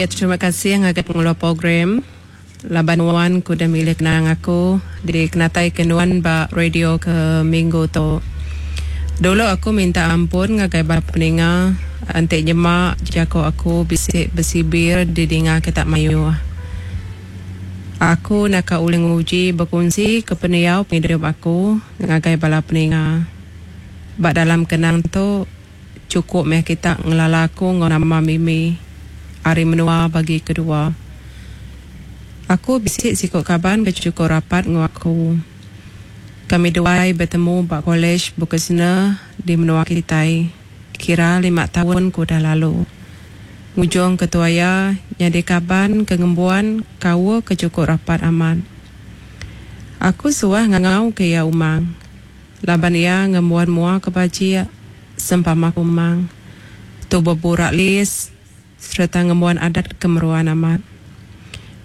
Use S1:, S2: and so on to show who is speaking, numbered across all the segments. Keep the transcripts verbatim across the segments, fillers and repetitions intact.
S1: Ya, terima kasih ngagai pengeluar program laban nuan ke udah milih kenang aku dikenatai ke nuan ba radio ke minggu tu. Dulu aku minta ampun ngagai bala peninga enti nyema jaku aku bisi besibir didinga kita mayuh. Aku naka ulih nguji bekunsi ke pendiau pengidup aku ngagai bala peninga. Ba dalam kenang tu chukup meh kita ngelala aku enggau nama Mimi ari menua bagi kedua. Aku bisi siku kaban ke chukup rapat enggau aku. Kami duai betemu ba Kolej Vokasional di menua kitai kira lima taun ke udah lalu. Ngujung ketua iya nyadi kaban ke ngembuan kaul ke chukup rapat amat. Aku suah ngangau ke iya Umang laban iya ngembuan mua ke bajik sempama Kumang, tubuh burak lis sereta ngembuan adat ke meruan amat.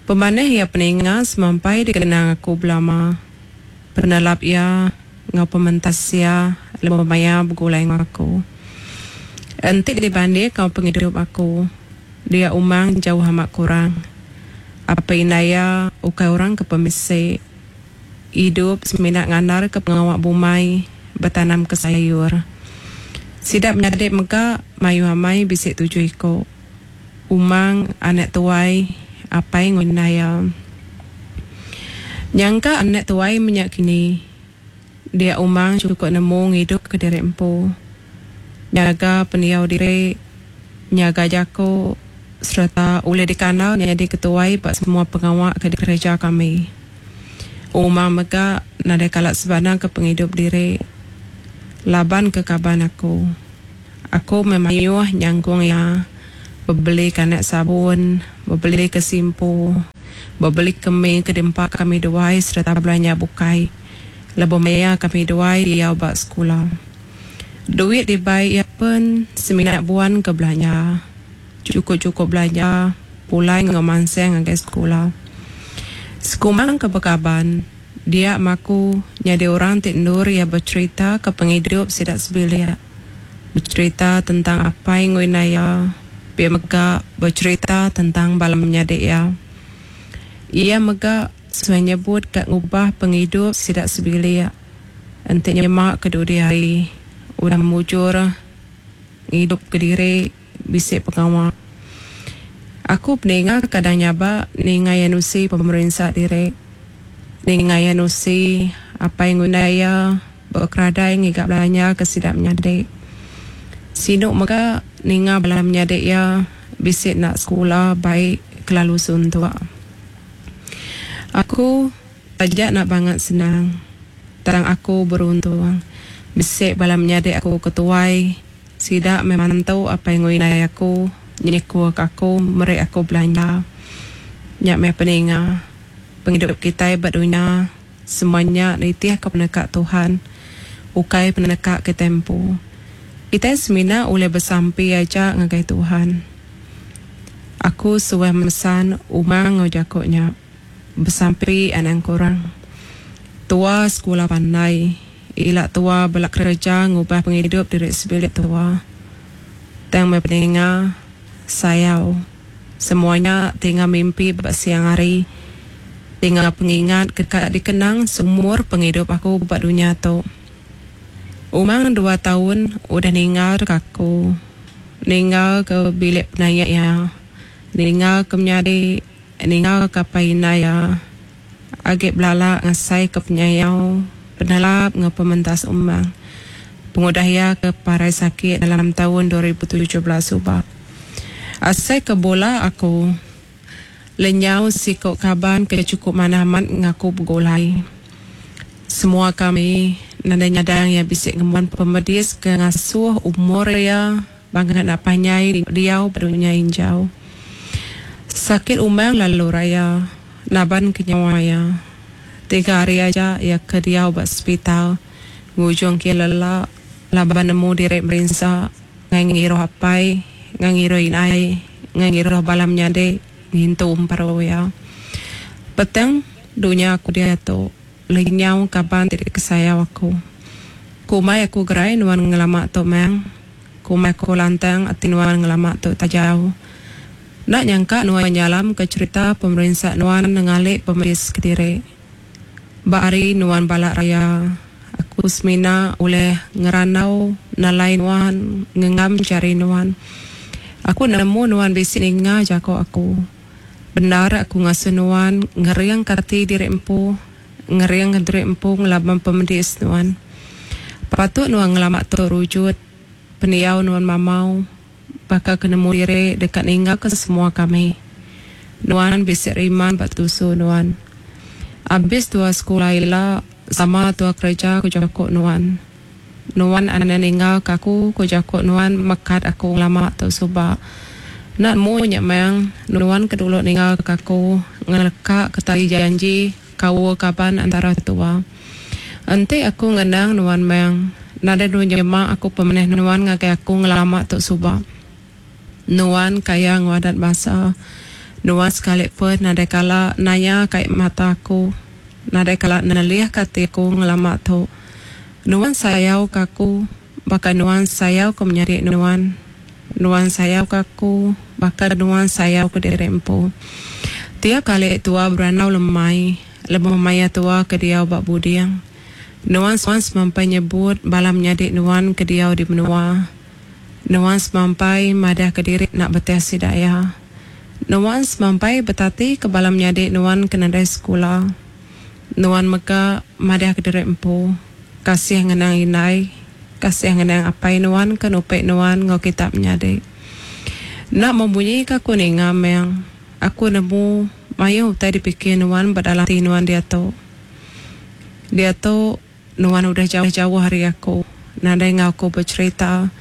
S1: Pemanah iya peninga semampai dikenang aku belama. Penelap iya enggau pementas iya lebuh maya begulai enggau aku. Enti dibanding enggau pengidup aku, dia Umang jauh amat kurang. Apai indai iya ukai orang ke pemisi. Idup semina ngandarka pengawa bumai betanamka sayur. Sida menyadi mega mayuh amai bisi tujuh iku. Umang anak tuai apai enggau indai iya. Nyangka anak tuai menya kini, dia Umang chukup nemu ngidupka diri empu. Nyaga pendiau diri, nyaga jaku sereta ulih dikandal nyadi ketuai ba semua pengawa ke dikereja kami. Umang mega nadai kala sebana ke pengidup diri laban ke kaban aku. Aku meh mayuh nyangkung iya bebeli ke anak sabun, bebeli ke simpu, bebeli ke mi ke diempa kami duai sereta belanja bukai lebuh maya kami duai diau ba sekula. Duit dibai iya pen semina buan ke belanja. Chukup-chukup belanja pulai enggau mansang ngagai sekula. Sekumbang ke bekaban, dia maku nyadi orang ti endur iya becherita ke pengidup sida sebilik. Becherita tentang apai enggau indai iya, pia mega becherita tentang bala menyadi iya. Iya mega suah nyebut ka ngubah pengidup sida sebilik enti nyema ke dudi hari udah mujur ngidup kediri bisi pengawa. Aku peninga kadang nyabak ninga iya nusi pemerinsa diri. Ninga iya nusi apai enggau indai iya bekeradai ngiga belanja ke sida menyadi. Sinu mega ninga bala menyadi iya bisi enda sekula bai kelalu suntuk. Aku taja enda bangat senang tang aku beruntung bisi bala menyadi aku ke tuai sida meh mantu apai enggau indai aku nyikuk aku meri aku belanja. Nya meh peninga pengidup kitai ba dunya semua nya nitihka peneka Tuhan ukai peneka kitai empu. Kitai semina ulih besampi aja ngagai Tuhan. Aku suah mesan Umang enggau jaku nya. Besampi anang kurang. Tua sekula pandai, ila tua bela kereja ngubah pengidup diri sebilik tua. Tang meh peninga sayau semua nya tinggal mimpi ba siang hari. Tinggal pengingat ke ka dikenang seumur pengidup aku ba dunya tu. Umang dua taun udah ninggal ke aku. Ninggal ke bilik penaik iya. Ninggal ke menyadi, ninggal ke apai indai iya. Agi belala ngasai ke penyayau, penelap enggau pementas Umang. Pengudah iya ke parai sakit dalam taun dua ribu tujuh belas suba. Asai ke bula aku lenyau siku kaban ke chukup manah amat ngaku begulai. Semua kami nadai nyadang iya bisi ngembuan pemedis ke ngasuh umur iya bangat enda panjai diau ba dunya injau. Sakit Umang lalu raya naban ke nyawa iya. Tiga hari aja iya ke diau ba sepital ngujung ke iya lelak laban nemu diri merinsa ngai ngiruh apai, ngai ngiruh indai, ngai ngiruh bala menyadi ngintu emperu iya. Petang dunya aku diatu lenyau kaban ti dikesayau aku. Kumbai aku gerai nuan ngelama tu mang. Kumbai aku lantang ati nuan ngelama tu tajau. Enda nyangka nuan nyalam ke cherita pemerinsa nuan nengali pemedis kediri. Ba hari nuan balat raya, aku semina ulih ngerandau nelai nuan ngenggam jari nuan. Aku nemu nuan bisi ninga jaku aku. Bendar aku ngasuh nuan ngeringka ati diri empu, ngeringka diri empu ngelaban pemedis nuan. Patut nuan ngelama tu rujut, pendiau nuan mamau, baka ke nemu diri deka ninggalka semua kami. Nuan bisi riman ba tusu nuan. Abis tua sekula ila, sama tua kereja ku jaku nuan. Nuan anang ninggalka aku ku jaku nuan mekat aku ngelama tu suba. Enda nemu nya meng, nuan ke dulu ninggalka aku ngeleka ke tali janji kaul kaban antara tua. Enti aku ngenang nuan meng, nadai nuan nyema aku pemanah nuan ngagai aku ngelama tu suba. Nuan kaya enggau adat basa. Nuan sekali pen nadai kala naya kai mata aku, nadai kala nelihka ati aku ngelama tu. Nuan sayau ke aku baka nuan sayau ke menyadi nuan. Nuan sayau ke aku baka nuan sayau ke diri empu. Tiap kali tua berandau lemai, lebuh maya tua ke diau ba buding, nuan semampai nyebut bala menyadi nuan ke diau di menua. Nuan semampai madah ke diri enda betih sida iya. Nuan semampai betati ke bala menyadi nuan ke nadai sekula. Nuan mega madah ke diri empu kasih ngenang indai, kasih ngenang apai nuan ke nupi nuan enggau kita menyadi. Enda memunyi ka aku ninga meng, aku nemu mayuh utai dipikir nuan ba dalam ati nuan diatu. Diatu nuan udah jauh-jauh ari aku, nadai enggau aku becherita.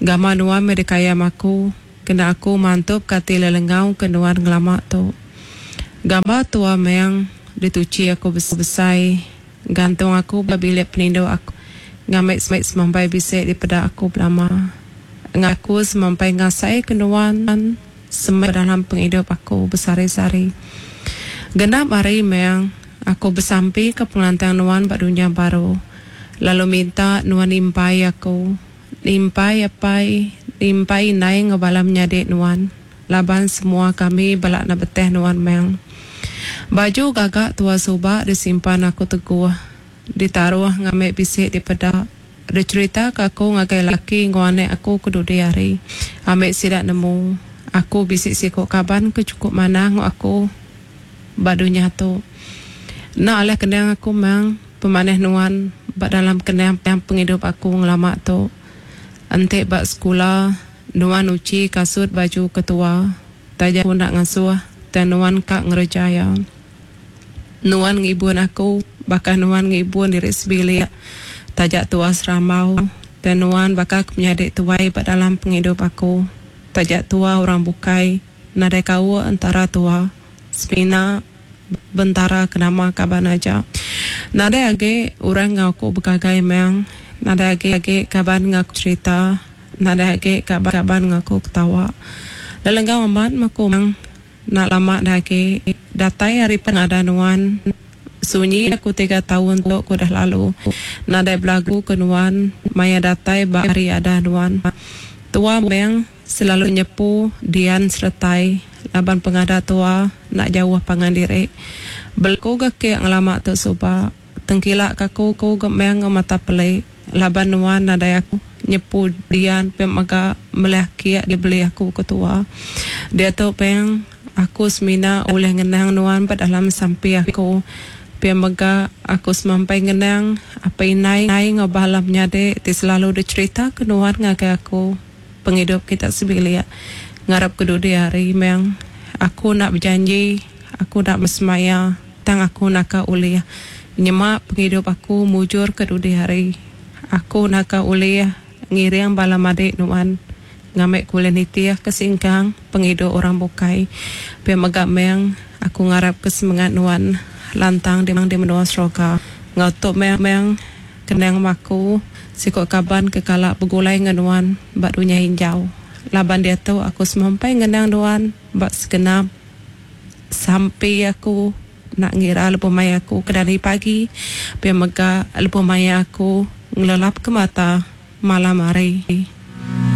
S1: Gamal nuan meh dikayam aku, kena aku mantup ka ati lelengau ke nuan ngelama tu. Gambar tua meng dituchi aku besai, gantung aku ba bilik penindu aku ngambi semampai bisi dipeda aku belama. Ngaku semampai ngasai ke nuan semak dalam pengidup aku besehari-sehari. Genap hari meng aku besampi ke pengelantang nuan ba dunya baru, lalu minta nuan nimpai aku, nimpai apai, nimpai indai enggau bala menyadi nuan, laban semua kami bala anak betih nuan meng. Baju gaga tua suba disimpan aku teguh, ditaruh ngambi bisi dipeda. Dicherita ka aku ngagai laki enggau anak aku ke dudi hari, ambi sida nemu aku bisi siku kaban ke chukup manah enggau aku ba dunya tu. Enda alih kenang aku meng pemanah nuan ba dalam kenang pengidup aku ngelama tu. Enti ba sekula nuan uchi kasut baju ketua, taja aku enda ngasuh tang nuan ka ngereja iya. Nuan ngibun aku baka nuan ngibun diri sebilik. Taja tua serambau, tang nuan baka ke menyadi tuai ba dalam pengidup aku. Taja tua orang bukai, nadai kaul entara tua, semina bentara ke nama kaban aja. Nadai agi orang enggau aku begagai meng, nadai agi agi kaban enggau aku cherita, nadai agi kaban enggau aku ketawa. Lelenggau amat meh aku meng, enda lama da agi datai hari pengada nuan. Sunyi aku tiga taun tu ke udah lalu, nadai belagu ke nuan maya datai ba hari ada nuan. Tua meng selalu nyepu dian seretai laban pengada tua enda jauh pangan diri. Belaku ga ke ngelama tu suba, tengkila ka aku ku ga meng enggau mata peli laban nuan nadai aku nyepu dian pia mega melih kiak dibeli aku ke tua. Diatu peng aku semina ulih ngenang nuan ba dalam sampi aku. Pia mega aku semampai ngenang apai indai enggau bala menyadi ti selalu dicherita ke nuan ngagai aku pengidup kita sebilik. Ngarap ke dudi hari meng aku enda bejanji, aku enda besemaya, tang aku naka ulih nyema pengidup aku mujur ke dudi hari. Aku naka ulih ngiring bala madik nuan ngambi ku ulih nitih ke singkang pengidup orang bukai. Pia mega meng aku ngarap ke semengat nuan lantang di menua Seroka. Enggau tu meng meng kenang aku siku kaban ke kala begulai enggau nuan ba dunya injau. Laban diatu aku semampai ngenang nuan ba segenap sampi aku enda ngira lebuh maya aku ke dani pagi pia mega lebuh maya aku ngelelap ke mata malam hari.